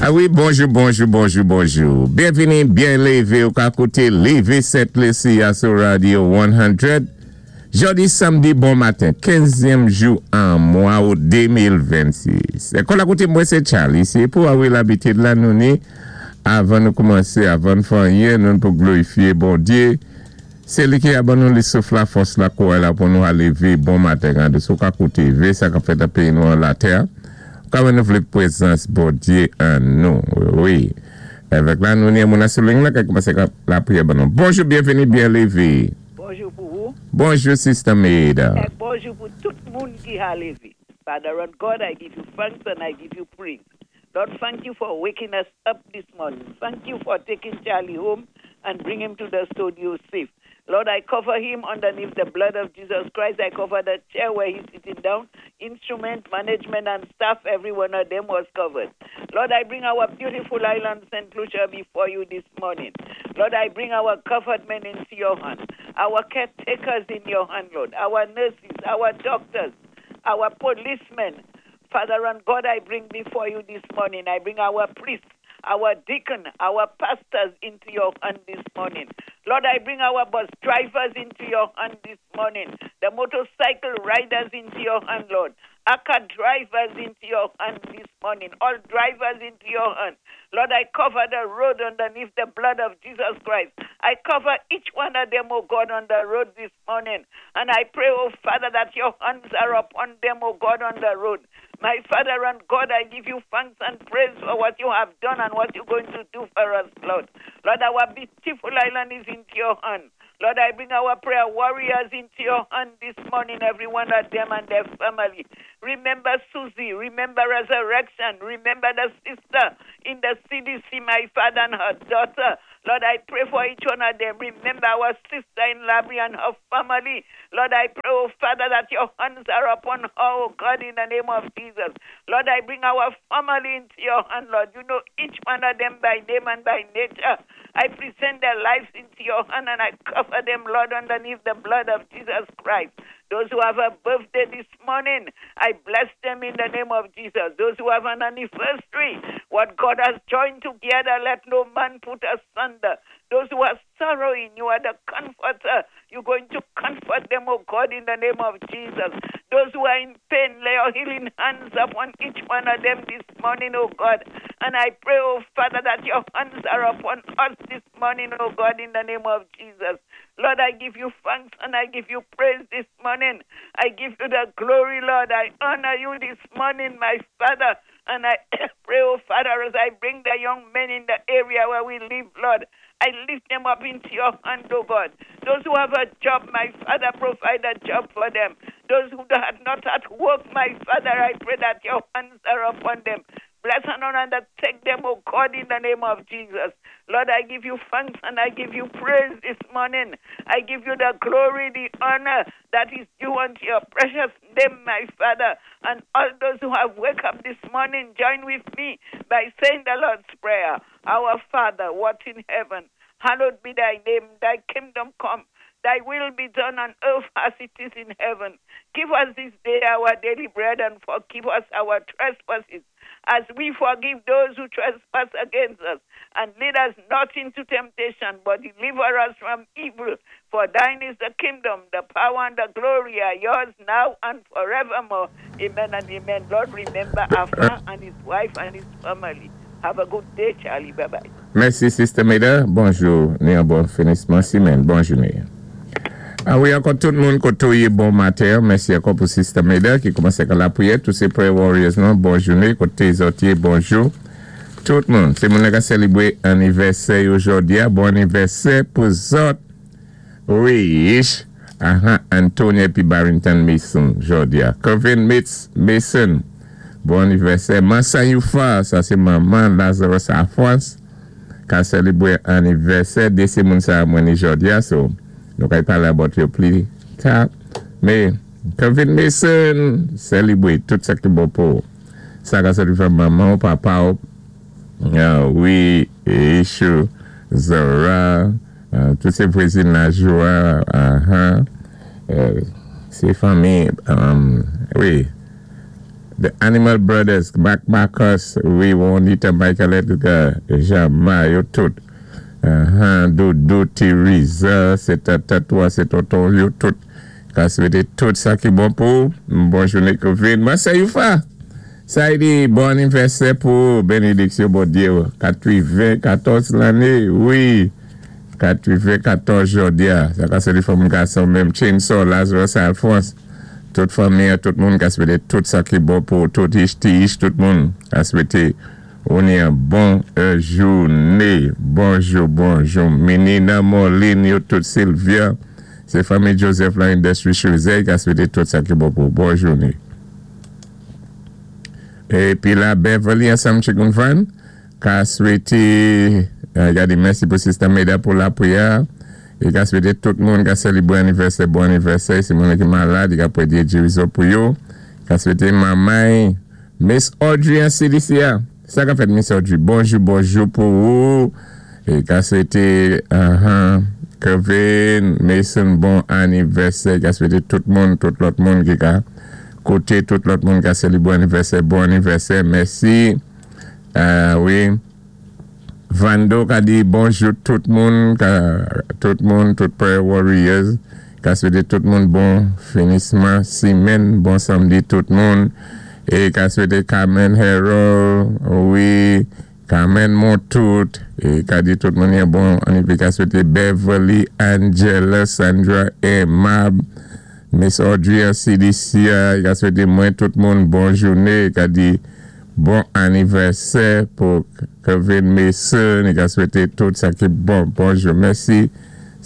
A wi, bonjou, bonjou, bonjou, bonjou. Byenvini, byen lévé, ou ka kouté Lévé Sent Lisi a sou Radio 100. Jòdi samdi bon maten, 15zyèm jou an mwa out 2026. Kon la koute mwen sé Charlie, sé pou a wi labitid la nou ni avan nou koumansé, avan n fè anyen, nou n pou glorifié Bondyé. Sé li ki a ban nou li souf la, fòs la, kouray la pou nou a lévé bon maten. Gade si w ka koute ve sa k ap fèt nan peyi nou an latè a. Ou ka wè nou vlé pwézans Bondyé an nou. Wi. Avèk la nou ni moun a sou ling la ka koumansé ka lapriyè ban nou. Bonjou, byenvini, byen lévé. Bonjou pou ou. Bonjou, Sister Maida. Èk bonjou pou tout moun ki ha lévé. Father and God, I give you thanks and I give you praise. Lord, thank you for waking us up this morning. Thank you for taking Charlie home and bring him to the studio safe. Lord, I cover him underneath the blood of Jesus Christ. I cover the chair where he's sitting down, instrument, management, and staff. Every one of them was covered. Lord, I bring our beautiful island, St. Lucia, before you this morning. Lord, I bring our government into your hand, our caretakers in your hand, Lord, our nurses, our doctors, our policemen. Father and God, I bring before you this morning. I bring our priests, our deacon, our pastors into your hand this morning. Lord, I bring our bus drivers into your hand this morning, the motorcycle riders into your hand, Lord. Aka drivers into your hand this morning, all drivers into your hand. Lord, I cover the road underneath the blood of Jesus Christ. I cover each one of them, oh God, on the road this morning. And I pray, oh Father, that your hands are upon them, oh God, on the road. My Father and God, I give you thanks and praise for what you have done and what you're going to do for us, Lord. Lord, our beautiful island is into your hand. Lord, I bring our prayer warriors into your hand this morning, every one of them and their family. Remember Susie, remember Resurrection, remember the sister in the CDC, my father and her daughter. Lord, I pray for each one of them. Remember our sister in Labrie and her family. Lord, I pray, oh Father, that your hands are upon her, oh God, in the name of Jesus. Lord, I bring our family into your hand, Lord. You know each one of them by name and by nature. I present their lives into your hand and I cover them, Lord, underneath the blood of Jesus Christ. Those who have a birthday this morning, I bless them in the name of Jesus. Those who have an anniversary, what God has joined together, let no man put asunder. Those who are sorrowing, you are the comforter. You're going to comfort them, oh God, in the name of Jesus. Those who are in pain, lay your healing hands upon each one of them this morning, oh God. And I pray, oh Father, that your hands are upon us this morning, oh God, in the name of Jesus. Lord, I give you thanks and I give you praise this morning. I give you the glory, Lord. I honor you this morning, my Father. And I pray, oh Father, as I bring the young men in the area where we live, Lord, I lift them up into your hand, oh God. Those who have a job, my Father, provide a job for them. Those who are not at work, my Father, I pray that your hands are upon them. Bless and honor and take them, oh God, in the name of Jesus. Lord, I give you thanks and I give you praise this morning. I give you the glory, the honor that is due unto your precious name, my Father. And all those who have woke up this morning, join with me by saying the Lord's Prayer. Our Father, what in heaven, hallowed be thy name, thy kingdom come. Thy will be done on earth as it is in heaven. Give us this day our daily bread and forgive us our trespasses as we forgive those who trespass against us. And lead us not into temptation, but deliver us from evil. For thine is the kingdom, the power, and the glory are yours now and forevermore. Amen and amen. Lord, remember Afa and his wife and his family. Have a good day, Charlie. Bye bye. Mèsi, Sister Meda. Bonjou, ni yon bon finisman simenn. Bon jounen. A wi, ankò tout moun koté ou yé bon maten. Mèsi ankò pou Sister Meda ki koumansé ka lapriyè. Tout sé prayer warriors nou. Bon jounen. Koté zòt yé, bonjou. Tout moun. Sé moun ka sélébwé annivèsè yo jòdi a. Bon annivèsè pou zòt. Wi. Aha, Anthony épi Barrington Mason jòdi a. Kevin Mitz Mason. Bon annivèsè. Mansa Youfa, sa sé manman Lazarus Alphonse ka sélébwé annivèsè. Dé sé moun sa mwen ni jòdi a, so nou kay palé about yo pli ta. Mé Kevin Mason sélébwé tout sa ki bon pou ou. Sa ka sòti from manman ou, papa ou, wi, Ishu, Zora, tout sé vwazinaj ou a, aha, sé fanmi, wi. The Animal Brothers, Mac Marcus, wi, Juanita, Michael Edgar, Jean-Ma, yo tout. Doudou, Teresa, sé tata toi, sé tonton, yo tout. Ka swété tout sa ki bon pou. Bon jouné Kevin. Mwen sé Youfa. Sa i di bon anivèsè pou bénédiksyon Bondyé 94 lanné, wi. 94 jòdi-a. Sa ka sé fanm gason menm Chainsaw, Lazarus Alphonse. Tout fanmi, tout moun ka swété tout sa ki bon pou tout ich, ti ich, tout moun ka swété on yon bon jouné. Bonjou, bonjou. Menina, Moline, yo tout Sylvia. Sé fanmi Joseph la Industry Choisey ka swété tout sa ki bon pou bon jouné. Épi la Beverly ansanm Chikunfan ka swété gadé mèsi pou Sister Meda pou lapwiyè é ka swété tout moun ka sélébwé anivèsè bon anivèsè si moun ki malad i ka pwédyé gérizon pou yo ka swété manmay Miss Audrey an CDC sa ka fèt Miss Audrey bonjou bonjou pou ou é ka swété Kevin Mason bon anivèsè ka swété tout moun tout lòt moun ki ka koté tout lòt moun ka sélébwé anivèsè bon anivèsè mèsi wi Vando ka di bonjou tout moun ka tout moun tout Prayer Warriors ka swété tout moun bon finisman simenn bon samdi tout moun é ka swété Carmen Harold wi Carmen Montout é ka di tout moun yon bon épi ka swété Beverly Angela Sandra Emab Miss Audrey CDC ka swété mwen tout moun bon jouné ka di bon anivèsè pou Kevin Mason, i ka swété tout sa ki bon. Bonjou, mèsi.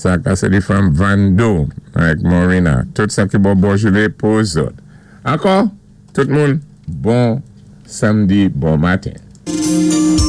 Sa ka sé di fanm Vando avèk Morina. Tout sa ki bon, bon jouné pou zòt. Ankò, tout moun, bon samdi, bon maten.